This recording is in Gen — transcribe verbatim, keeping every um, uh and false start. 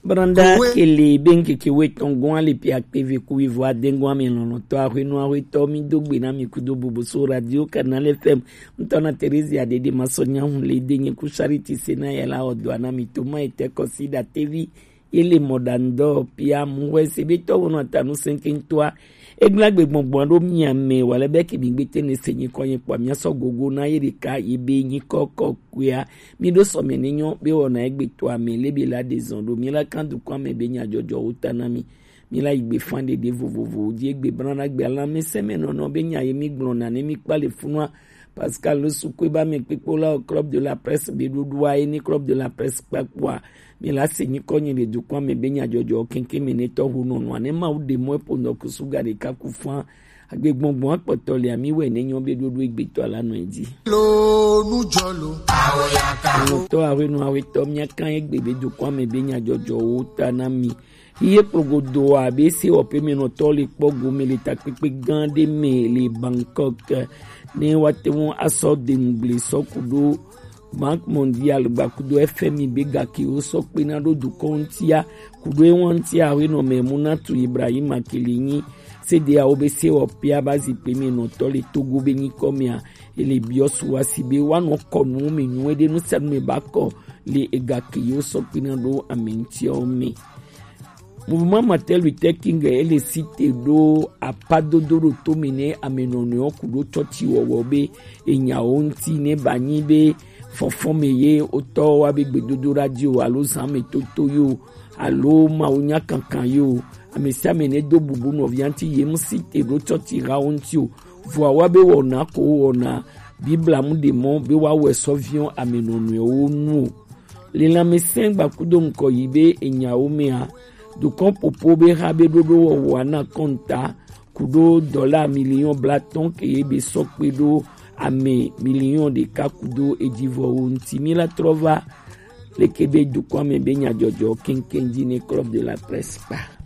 Branda kele be ŋkeke wetɔn gɔn ale pia kpeve ku wivo adengo ame lɔlɔtɔ ahwenu ahwetɔ mi do gbe na mi kudo bubu so radio Canal F M. Ŋutɔ na Theresia Dede Masɔnya hun le de nye ku Charity Sena yɛ la ɔdɔ na mi to ma ete kɔsi da tevi. Ele mɔɖaŋudɔwɔƒea muhɔe se be tɔwo nɔ ta nu sɛnkɛŋtɔa. Egblẽ agbe gbɔngbɔn ɖo mia me wale be ke mi gbete ne se nyikɔ nye kpɔ mia sɔ gogo na ye ɖeka ye be nyikɔ kɔkɔea. Mi ɖo sɔme ne nyɔ be wɔna egbe to ame le be la de zɔn ɖo mi la kan dukɔ ame be nyadzɔdzɔwo ta na mi. Mi la yi gbe fan ɖeɖe vovovowo dzi egbe bla na gbe alameseme nɔnɔ be nya ye mi gblɔ na ne mi kpa le funua. Pascal Sukue ba me kpekpo la o club de la presse be ɖoɖoa ye ni club de la presse kpakpoa. Mi la se nyikɔ nyi le dukɔ me be nyadzɔdzɔ keŋkeŋ me ne tɔho nɔnɔa ne Mawu ɖe mɔ eƒo nɔ kusu ga ɖeka ku fã. Agbe gbɔngbɔn akpɔtɔ le ami wɛ ne nyɔ be ɖoɖo egbetɔ la nɔ edzi. Lo nu jɔ lo. Awo ya ka. Nɔtɔ awe nu awe tɔ mia kan egbe be dukɔ me be nyadzɔdzɔwo ta na mi. Iye kplogodo abe sewɔƒemenɔtɔ le kpɔ gome le takpekpe gã ɖe me le Bangkok ne woate ŋu asɔ deŋugble sɔ ku ɖo Banque Mondiale gbakudo F M I be gakewo sɔ kpena ɖo dukɔ ŋutia kudo ewa ŋutia awenɔ me Munatu Ibrahima kele nyi sedeawo be sewɔƒea ba zikpe me nɔtɔ le Togo be nyikɔ mea ele biɔ suwasi be woanɔ kɔ nuwo me nyuie ɖe nu sia nu me ba kɔ le egakewo sɔ kpena ɖo ame ŋutiawo me. Mouvement Martin Luther King ele site ɖo apadodo ɖo tome ne ame nɔnɔewo ku ɖo tsɔtsi wɔwɔ be enyawo ŋuti ne ba nyi be fɔfɔ me ye wotɔ wa be gbedodo radio alo zan me toto yo alo mawu nya kankan yo ame sia ame ne do bubu nɔvia ŋuti ye ŋu site ɖo tsɔtsi hawo ŋuti o vɔa wa be wɔna ko wɔna bibla mu ɖe mɔ be wa wɛ sɔviɔ ame nɔnɔewo nu o. Le lãmesẽ gbakudo ŋkɔ yi be enyawo mea, dukɔ popo be ha be ɖoɖo wɔwɔa na kɔnta kudo dɔla miliɔn blatɔn ke ye be sɔ kpe ɖo ame miliɔn ɖeka kudo ejivɔwo ŋuti. Mi la trɔ va leke be dukɔ me be nyadzɔdzɔ keŋkeŋ dzi ne club de la presse kpa.